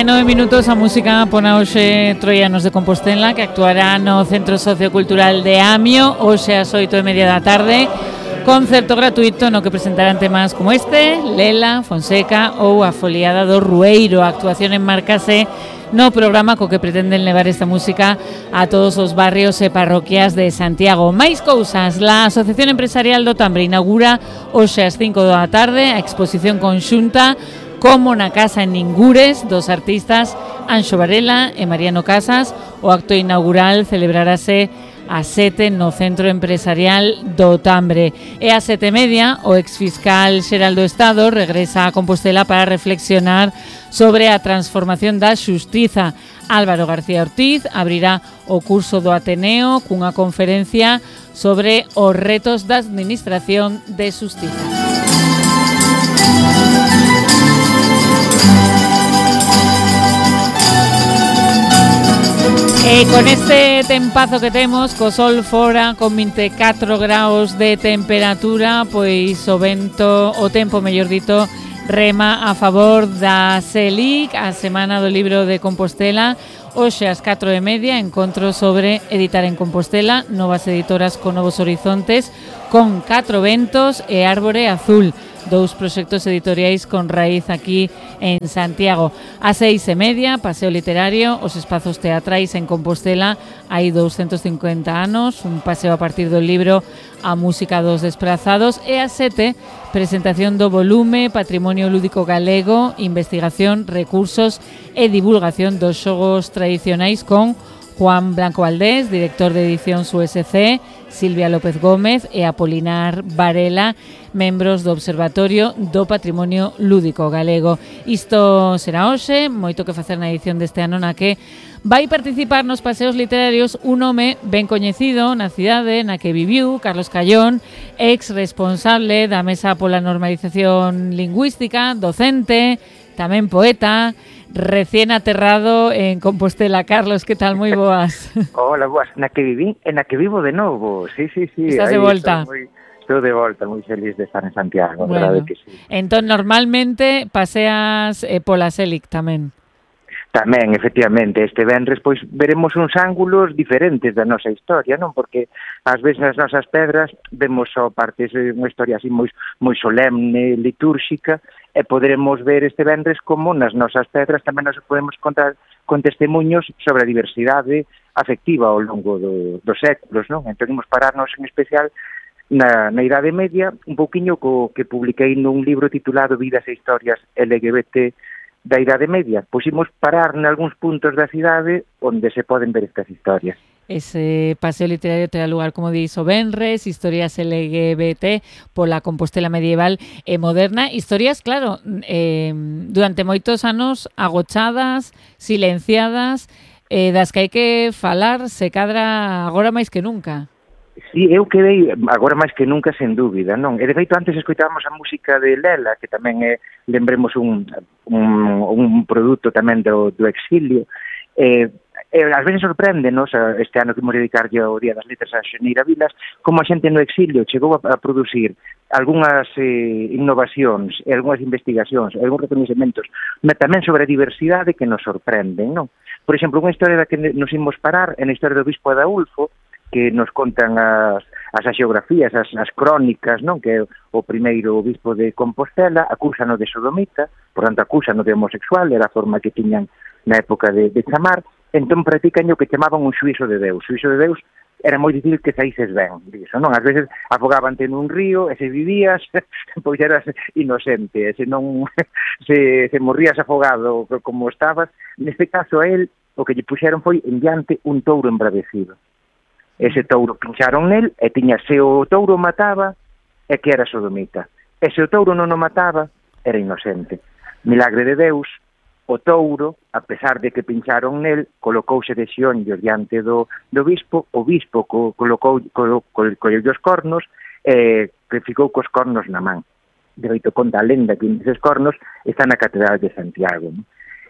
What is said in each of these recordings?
9 minutos a música pon a hoxe Troianos de Compostela, que actuará no Centro Sociocultural de Amio hoxe ás 8:30 da tarde, concerto gratuito no que presentarán temas como este, Lela, Fonseca ou A Foliada do Rueiro. A actuación enmarcase no programa co que pretenden levar esta música a todos os barrios e parroquias de Santiago. Máis cousas, la Asociación Empresarial do Tambre inaugura hoxe ás 5 da tarde a exposición conxunta Como na Casa en Ningures dos artistas Anxo Varela e Mariano Casas. O acto inaugural celebrarase ás 7 no Centro Empresarial do Tambre. E ás 7:30 o exfiscal xeral do Estado regresa a Compostela para reflexionar sobre a transformación da xustiza. Álvaro García Ortiz abrirá o curso do Ateneo cunha conferencia sobre os retos da administración de xustiza. E con este tempazo que temos, co sol fora, con 24 graus de temperatura, pois o vento, o tempo, mellor dito, rema a favor da SELIC, a Semana do Libro de Compostela. Hoxe ás 4:30, encontro sobre editar en Compostela, novas editoras con novos horizontes, con 4 ventos e Árbore Azul, dous proxectos editoriais con raíz aquí en Santiago. Ás 6:30, paseo literario, os espazos teatrais en Compostela, hai 250 anos, un paseo a partir do libro A Música dos Desprazados, e ás 7, presentación do volume Patrimonio Lúdico Galego, investigación, recursos e divulgación dos xogos tradicionais con Juan Blanco Valdés, director de edicións USC, Silvia López Gómez e Apolinar Varela, membros do Observatorio do Patrimonio Lúdico Galego. Isto será hoxe, moito que facer na edición deste ano na que vai participar nos paseos literarios un home ben coñecido na cidade na que viviu, Carlos Callón, ex responsable da Mesa pola Normalización Lingüística, docente, tamén poeta, recién aterrado en Compostela. Carlos, que tal? Moi boas. Hola, boas. Na que viví e na que vivo de novo. Sí. Estás de volta. Estou de volta, moi feliz de estar en Santiago, bueno, verdade que sí. Entón, normalmente paseas pola SELIC tamén. Tamén, efectivamente, este venres pois veremos uns ángulos diferentes da nosa historia, non? Porque ás veces nas nosas pedras vemos só partes de unha historia así moi solemne, litúrxica, e poderemos ver este venres como nas nosas pedras tamén nos podemos contar con testemunhos sobre a diversidade afectiva ao longo dos séculos, non? Entón, imos pararnos en especial na Idade Media, un pouquiño co que publiquei nun libro titulado Vidas e Historias LGBT da Idade Media. Pois imos parar nalgúns puntos da cidade onde se poden ver estas historias. Ese paseo literario terá lugar, como dís, o venres, historias LGBT pola Compostela medieval e moderna. Historias, claro, durante moitos anos agochadas, silenciadas, das que hai que falar se cadra agora máis que nunca. Sí, eu quedei agora máis que nunca, sen dúbida, non? E de feito antes escoitábamos a música de Lela, que tamén é, lembremos, un produto tamén do exilio. Ás veces sorpréndenos, este ano que imos dedicarlle ao Día das Letras a Xeneira Vilas, como a xente no exilio chegou a producir algunhas innovacións e algunhas investigacións e algúns recoñecementos tamén sobre a diversidade que nos sorprenden, non? Por exemplo, unha historia da que nos imos parar é na historia do Bispo Adaulfo, que nos contan as haxiografías, as crónicas, non? Que é o primeiro bispo de Compostela, acúsano de sodomita, por tanto acúsano de homosexual, era a forma que tiñan na época de chamar, entón practican o que chamaban un xuízo de Deus. O xuízo de Deus era moi difícil que saíses ben, diso, non? Ás veces afogabante nun río, e se vivías, pois eras inocente, e se non se morrías afogado como estabas, neste caso a él, o que lle puxeron foi en diante un touro embravecido. Ese touro pincharon nel e tiña, se o touro mataba, é que era sodomita. E se o touro non o mataba, era inocente. Milagre de Deus, o touro, a pesar de que pincharon nel, colocouse de xeonllos diante do bispo, o bispo colleu os cornos e ficou cos cornos na man. De feito, conta a lenda que eses cornos están na Catedral de Santiago.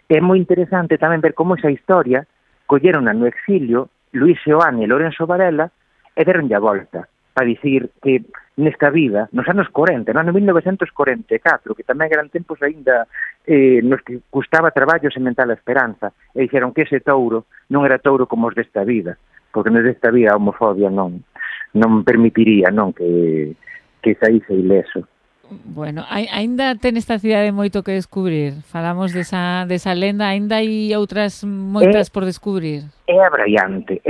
É moi interesante tamén ver como esa historia colleron no exilio Luis Seoane e Lorenzo Varela e deronlle a volta. para dicir que nesta vida, nos anos 40, no ano 1944, que tamén eran tempos aínda nos que custaba traballo sementar a esperanza, e dixeron que ese touro non era touro como os desta vida, porque nos desta vida a homofobia non permitiría que saíse ileso. Bueno, aínda ten esta cidade moito que descubrir. Falamos desa lenda, aínda hai outras moitas por descubrir. É abraiante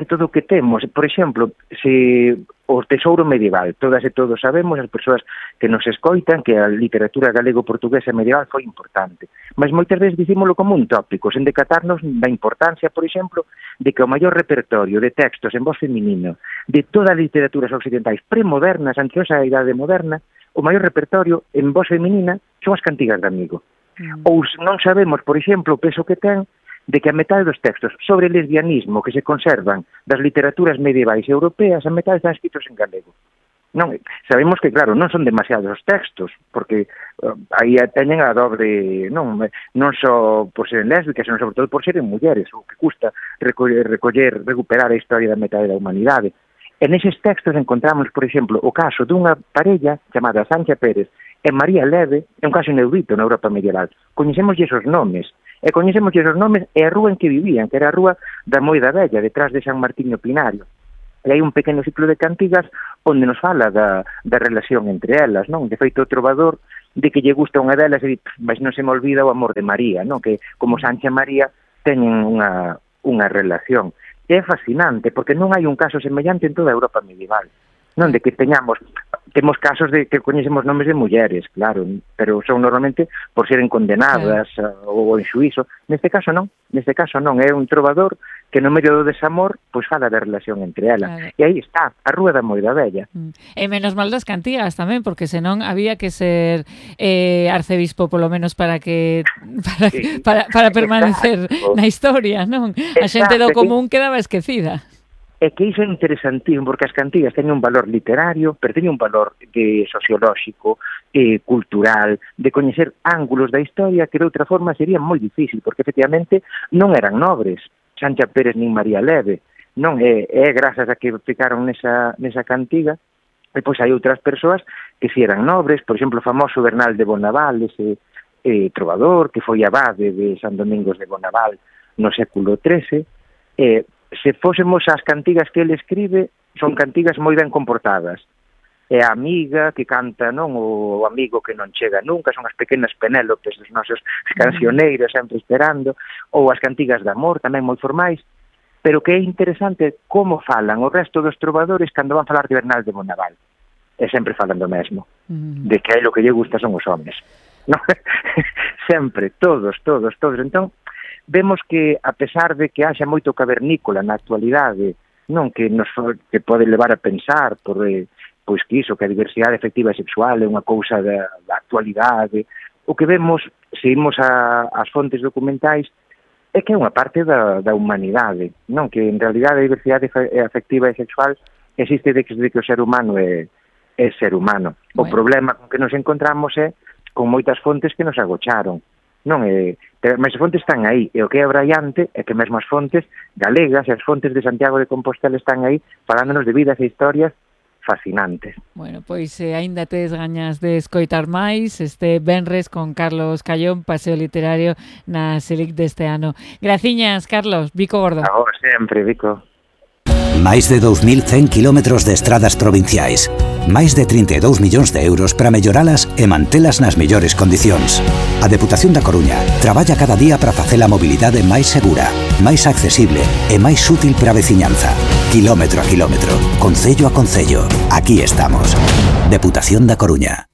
todo o que temos. Por exemplo, se o tesouro medieval, todas e todos sabemos, as persoas que nos escoitan, que a literatura galego-portuguesa medieval foi importante. Mas moitas veces dicímolo como un tópico, sen decatarnos da importancia, por exemplo, de que o maior repertorio de textos en voz feminino de todas as literaturas occidentais premodernas, antes da idade moderna, o maior repertorio en voz feminina son as cantigas de Amigo. Ou non sabemos, por exemplo, o peso que ten de que a metade dos textos sobre lesbianismo que se conservan das literaturas medievais europeas, a metade están escritos en galego. Non, sabemos que, claro, non son demasiados os textos, porque aí teñen a dobre, non só por ser lésbicas, senón sobre todo por serem mulleres, o que custa recuperar a historia da metade da humanidade. En eses textos encontramos, por exemplo, o caso dunha parella chamada Sancha Pérez e María Leve, é un caso inaudito na Europa medieval. Coñecémoslle esos nomes, e a rúa en que vivían, que era a rúa da Moida Vella, detrás de San Martiño Pinario. E hai un pequeno ciclo de cantigas onde nos fala da relación entre elas, non? De feito, o trovador de que lle gusta unha delas e di, mas non se me olvida o amor de María, non? Que como Sancha e María teñen unha relación. É fascinante, porque non hai un caso semellante en toda a Europa medieval. Non de que temos casos de que coñecemos nomes de mulleres, claro, pero son normalmente por seren condenadas ou en xuízo. Neste caso non, é un trovador que no medio do desamor pois fala da relación entre elas. Claro. E aí está, a rúa da Moida Vella. E menos mal das cantigas tamén, porque senón había que ser arcebispo polo menos para permanecer na historia, non? A xente do común quedaba esquecida. É que iso é interesantísimo, porque as cantigas teñen un valor literario, pero teñen un valor sociolóxico, cultural, de coñecer ángulos da historia que de outra forma sería moi difícil, porque efectivamente non eran nobres, Sancha Pérez nin María Leve, non é grazas a que ficaron nesa cantiga, e pois hai outras persoas que si eran nobres, por exemplo, o famoso Bernal de Bonaval, ese trovador que foi abade de San Domingos de Bonaval no século XIII, se fósemos as cantigas que ele escribe, son cantigas moi ben comportadas. É a amiga que canta, non, o amigo que non chega nunca, son as pequenas Penélopes dos nosos cancioneiros sempre esperando, ou as cantigas de amor, tamén moi formais, pero que é interesante como falan o resto dos trovadores cando van falar de Bernal de Bonaval. E sempre falan do mesmo, de que aí o que lle gusta son os homes. Non? Sempre, todos. Entón, vemos que, a pesar de que haxa moito cavernícola na actualidade, non que pode levar a pensar por pois que iso, que a diversidade afectiva e sexual é unha cousa da actualidade, o que vemos, se imos ás fontes documentais, é que é unha parte da humanidade, non? Que en realidade a diversidade afectiva e sexual existe desde que o ser humano é ser humano. O problema con que nos encontramos é con moitas fontes que nos agocharon. Non mas as fontes están aí, e o que é abraiante é que mesmo as fontes galegas e as fontes de Santiago de Compostela están aí falándonos de vidas e historias fascinantes. Bueno, pois aínda tes gañas de escoitar máis este venres con Carlos Callón, paseo literario na Selic deste ano. Graciñas, Carlos, Vico Gordo. Agora sempre, Vico. Máis de 2.100 kilómetros de estradas provinciais, máis de 32 millóns de euros para melloralas e mantelas nas mellores condicións. A Deputación da Coruña traballa cada día para facer a mobilidade máis segura, máis accesible e máis útil para a veciñanza. Kilómetro a kilómetro, concello a concello, aquí estamos. Deputación da Coruña.